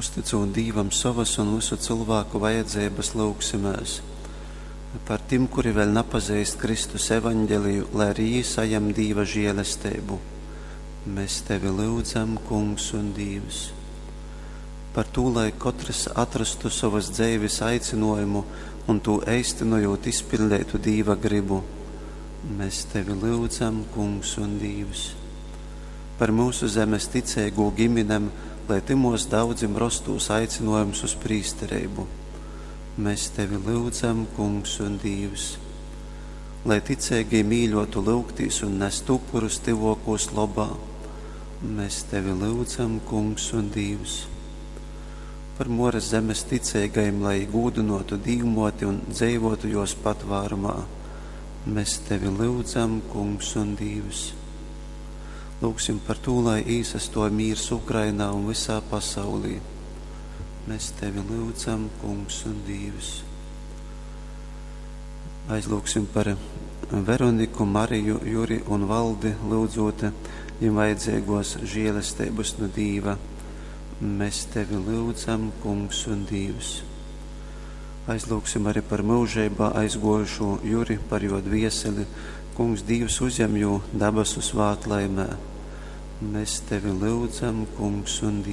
Uztycūt Dīvam sovas un vysu cylvāku vajadzeibas, lyugsimēs par tim, kuri vēļ napazeist Kristus evaņgeliju, lai arī jī sajam Dīva žēlesteibu. Mēs tevi lyudzam, Kungs un Dīvs. Par tū, lai kotrs atrastu sovas dzeives aicinājumu un tū eistynojot izpildeitu Dīva gribu. Mēs tevi lyudzam, Kungs un Dīvs. Par mūsu zemes ticeigū giminem, lai tymos daudzim rostūs aicinājums uz prīstereibu. Mēs tevi lyudzam, Kungs un Dīvs. Lai ticeigī mīļotu lyugtīs un nest upurus tyvokūs lobā. Mēs tevi lyudzam, Kungs un Dīvs. Par Moras zemes ticeigajiem, lai gūdinotu Dīvmoti un dzeivotu jos patvārumā. Mēs tevi lyudzam, Kungs un Dīvs. Lūgsim par tū, lai īsastuoj mīrs Ukrainā un visā pasaulī. Mēs tevi lyudzam, Kungs un Dīvs. Aizlūgsim par Veroniku, Mariju, Juri un Valdi, lyudzot viņiem vajadzīgos žēlestības no Dīva. Mēs tevi lyudzam, Kungs un Dīvs. Aizlūgsim arī par mūžībā aizgojušo Juri, par jo dvieseli. Kungs Dīvs uzņem jū dabasu svātlaimē. Mēs tevi lyudzam, Kungs un Dīvs.